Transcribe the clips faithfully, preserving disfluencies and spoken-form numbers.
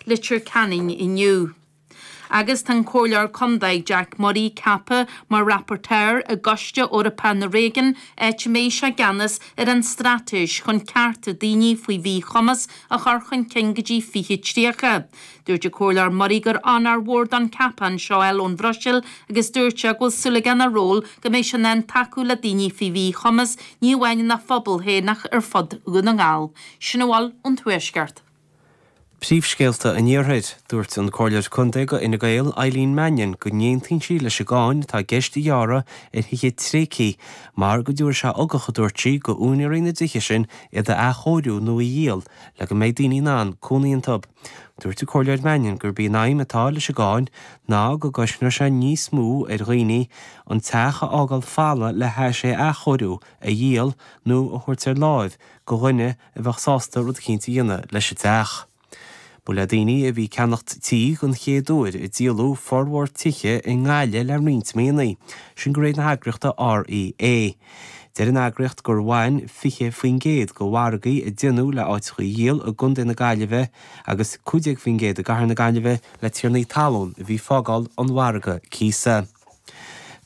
Leitir Ceanainn inniu. Agus tá an Comhairleoir Contae Jack Murray ceaptha mar rapporteur i gCoiste Eorpach na Réigiún áit a mbeidh sé i gceannas ar an straitéis chun cearta daoine faoi mhíchumas a chur chun cinn go dtí fiche tríocha. Dúirt an Comhairleoir Murray gur onóir mhór dó an ceapachán seo a fháil ón Bhruiséil agus dúirt sé go bhfuil súil aige ina ról go mbeidh sé in ann tacú le daoine faoi mhíchumas ní amháin ina phobal féin ach ar fud Dhún na nGall. Sin a bhfuil ón Tuaisceart. Príomhscéalta an Iarthair, dúirt an Comhairleoir Contae do Fhine Gael Eileen Mannion go n-aontaíonn sí leis an gcáin atá i gceist a ghearradh ar thithe tréigthe mar go dtabharfaidh sé ugach a dúirt sí go úinéirí na dtithe sin iad a athchóiriú nó a dhíol le go mbeidh daoine in ann cónaí iontu. Dúirt an Comhairleoir Mannion gurb í an aidhm atá leis an gcáin ná go gcosnódh sé níos mó ar dhaoine an teach a fhágáil folamh le hais é a athchóiriú, a dhíol nó a thabhairt ar láimh go dhuine a bheadh sásta rud eicínt a dhéanamh leis an teach. Ba le daoine a bhí ag ceannacht tí den chéad uair a díoladh formhór tithe i nGaillimh le roinnt míonna, sin de réir na heagraíochta REA. Deir an eagraíocht gur bhain fiche faoin gcéad de mhargaí a déanadh le áiteacha a dhíol i gContae na Gaillimhe agus cúig déag faoin gcéad i gCathair na Gaillimhe le tiarnaí talún a bhí ag fágáil an mhargaidh cíosa.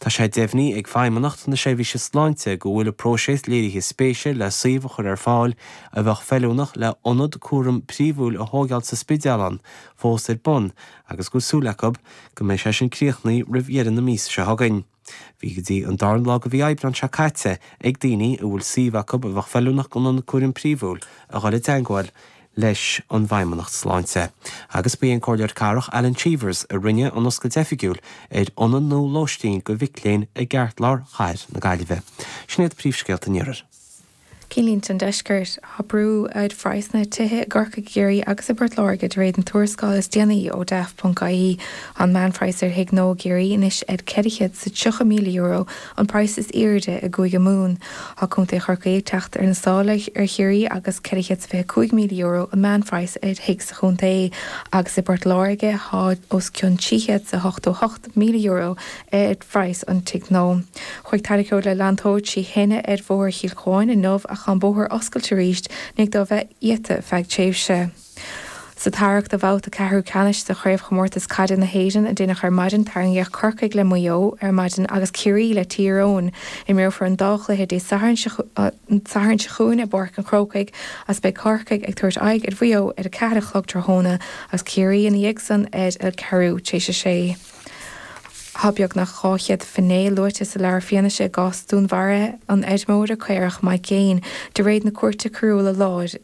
Tá sé deimhnithe ag Feidhmeannacht na Seirbhíse Sláinte go bhfuil an próiseas léirithe spéise le suíomh a chur ar fáil a bheadh feiliúnach le ionad cúram príomhúil a thógáil sa Spidéal ann fós ar bun agus go bhfuil súil acu go mbeidh sé sin críochnaithe roimh dheireadh na míosa seo chugainn. Bhí go dtí an dara lá de mhí Aibreán seo caite ag daoine a bhfuil suíomh acu a bheadh feiliúnach don ionad cúraim príomhúil a dhul i dteagmháil leis an bhFeidhmeannacht Sláinte. Agus ba é an Comhairleoir Cathrach Alan Cheevers a rinne an oscailt oifigiúil ar ionad nua lóistín do mhic léinn i gceartlár chathair na Gaillimhe. Sin iad príomhscéalta an Iarthair. Cinnlínte an Deiscirt, Tá brú ar phraghsanna tithe i gCorcaigh, i gCiarraí agus i bPort Láirge de réir an tuarascáil is déanaí ó Daft.ie. An meánphraghas ar thigh nua i gCiarraí anois ar ceithre chéad is tríocha míle euro, an praghas is airde i gCúige Mumhan. Tá Contae Chorcaí ag teacht ar na sála ar Chiarraí agus ceithre chéad is fiche cúig míle euro an meánphraghas ar thigh sa chontae agus i bPort Láirge tá os cionn trí chéad is ochtó hocht míle euro ar phraghas an tigh nua. Chuaigh tarracóir le leantóir trí thine ar Bhóthar Chill Chuáin inniu ach tá an bóthar oscailte arís i ndiaidh dó bheith iata feadh tréimhse. Sa tarrac do bhabhta ceathrú ceannais de Chraobhchomórtas Caide na hÉireann a déanadh ar maidin, tarraingíodh Corcaigh le Maigh Eo ar maidin agus Ciarraí le Tír Eoghain. Imreofar an dá chluiche Dé Sathairn seo chugainn i bPáirc an Chrócaigh agus beidh Corcaigh ag tabhairt aghaidh ar Mhaigh Eo ar a ceathair a chlog tráthnóna agus Ciarraí ina dhiaidh san ar a ceathrú tar éis a sé. Tá beagnach dhá chéad finné luaite sa leabhar fianaise i gcás dúnmharaithe an fheirmeora caorach Mike Gaine de réir na Cúirte Coiriúla Láir.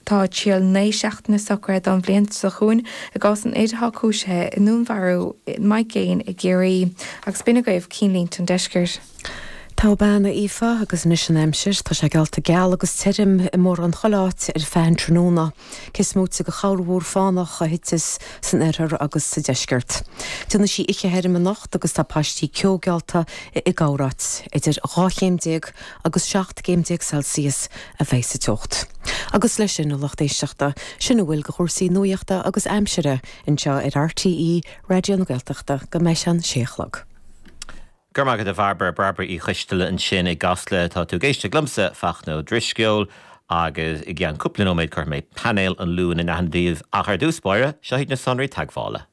Tá triail naoi seachtaine socraithe don bhliain seo chugainn i gcás an fhir atá cúisithe i ndúnmharú Mike Gaine i gCiarraí. Agus b'in agaibh cinnlínte an deiscirt. Togha bean, a Aoife, agus anois an aimsir. Tá sé geallta geal agus tirim i mórán chuile áit ar feadh an tráthnóna, cé is móite de chorrmhúr fánach a thiteas san oirthear agus sa deisceart. Déanfaidh sí oíche thirim anocht agus tá paistí ceo geallta i gcorráit. Idir dhá chéim déag agus seacht gcéim déag Celsius a bheidh sa teocht. Agus leis sin, a lucht éisteachta, sin a bhfuil de chúrsaí nuachta agus aimsire anseo ar RTÉ Raidió na Gaeltachta go mbeidh sé an sé a chlog. Go raibh maith agat a Bhairbre, Bairbre Uí Choisteala ansin i gCasla. Tá tú ag éisteacht liomsa, Fachtna Ó Drisceoil, agus i gceann cúpla nóiméad cuirfidh mé painéal an Luain in aithne daoibh. Ach ar dtús báire, seo iad na sonraí teagmhála.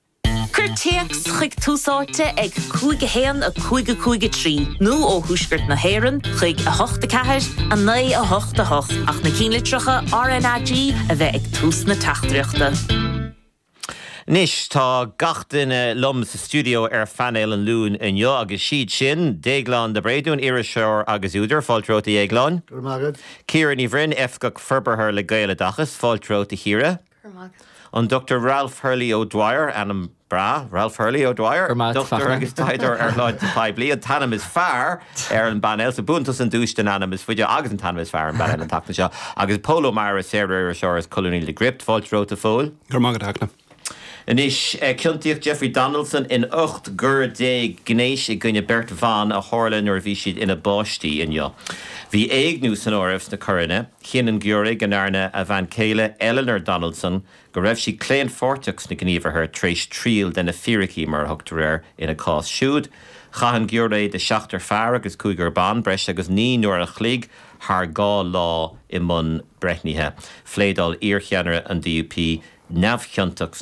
Cuir téacs chuig Tús Áite ag cúig a haon a cúig a cúig a trí nó ó Thuaisceart na hÉireann chuig a hocht a ceathair a naoi a hocht a hocht ach na cinnlitreacha RnaG a bheith ag tús na teachtaireachta. Anois tá gach duine liom sa stiúideo ar phainéal an Luain inniu agus siad sin, Déaglán de Bréadún, iriseoir agus údar, fáilte romhat a Dhéagláin. Go raibh maith agat. Ciara Ní Bhroin, Oifigeach Forbartha le Gaeloideachas, fáilte romhat a Chiara. Go raibh maith agat. An Dr Ralph Hurley O'Dwyer, ainm breá, Ralph Hurley O'Dwyer, Go raibh maith agat, dochtúir Fachtna. agus taighdeoir ar shláinte phoiblí, an t-ainm is fearr ar an bpainéal, so buann tusa an duais don ainm is faide agus an t-ainm is fearr ar an bpainéal an tseachtain seo. Agus Pól Ó Meachair, saoririseoir is colúnaí le Gript, fáilte romhat a Phóil. Go raibh maith agat, a Fhachtna. Anois, ciontaíodh Jeffrey Donaldson in ocht gcoir déag gnéis i gcoinne beirt bhan a tharla nuair a bhí siad ina bpáistí inniu. Bhí éigniú san áireamh sna coireanna. Chinn an giúiré go ndearna a bhean chéile, Eleanor Donaldson, go raibh sí claonpháirteach sna gníomhartha tar éis triail de na fíricí, mar a thugtar air ina cás siúd. Chaith an giúiré de sheachtar fear agus cúigear ban breis agus naoi n-uair an chloig thar dhá lá i mbun breithnithe. Phléadáil iarcheannaire an DUP, neamhchiontach.